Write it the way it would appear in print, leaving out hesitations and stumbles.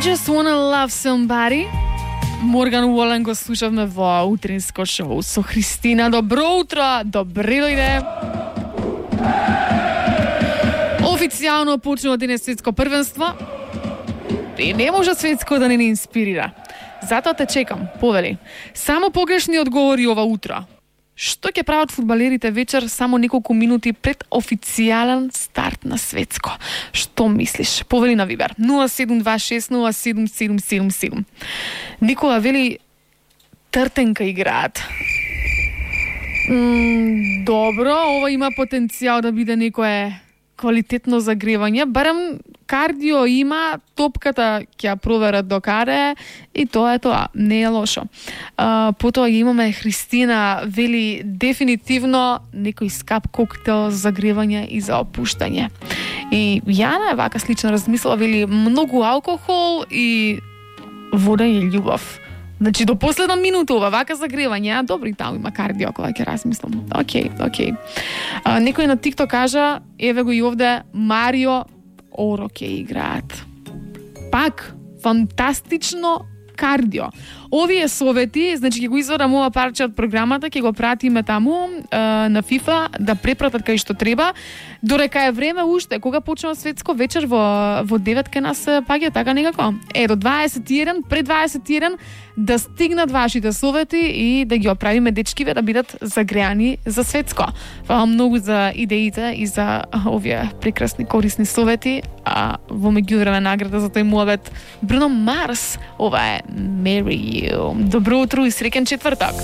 just wanna love somebody. Морган Уолен го слушавме во утринско шоу со Христина. Добро утро, добре дојде. Официјално почнува денес светско првенство. И не може светско да не инспирира. Затоа те чекам, повели. Само погрешни одговори ова утро. Што ќе прават фудбалерите вечер само неколку минути пред официјален старт на светско? Што мислиш? Повели на Вибер 0726077777. Никола вели тртенка играат. Добро, ова има потенцијал да биде некое квалитетно загревање, барем кардио има, топката ќе ја проверат до каде и тоа е тоа, не е лошо. Потоа имаме Христина, вели дефинитивно некој скап коктел за загревање и за опуштање. И Јана е вака слично размислила, вели многу алкохол и вода и љубов. Значи, до последна минута ова вака загревање, добро и таму има кардио, кога ќе размислам. Океј. Некој на TikTok кажа, еве го и овде, Марио Оро ќе играат. Пак, фантастично кардио. Овие совети, значи ќе го извадам ова парче од програмата, ќе го пратиме таму на FIFA да препратат кај што треба. Дорека е време уште, кога почнува светско вечер во 9 кај нас паѓа така некако. До 21, пред 21 да стигнат вашите совети и да ги оправиме дечкиве да бидат загреани за светско. Фала многу за идеите и за овие прекрасни корисни совети. А во меѓувреме награда за тој муабет Бруно Марс. Ова е Marry You. Добро утро и среќен четврток.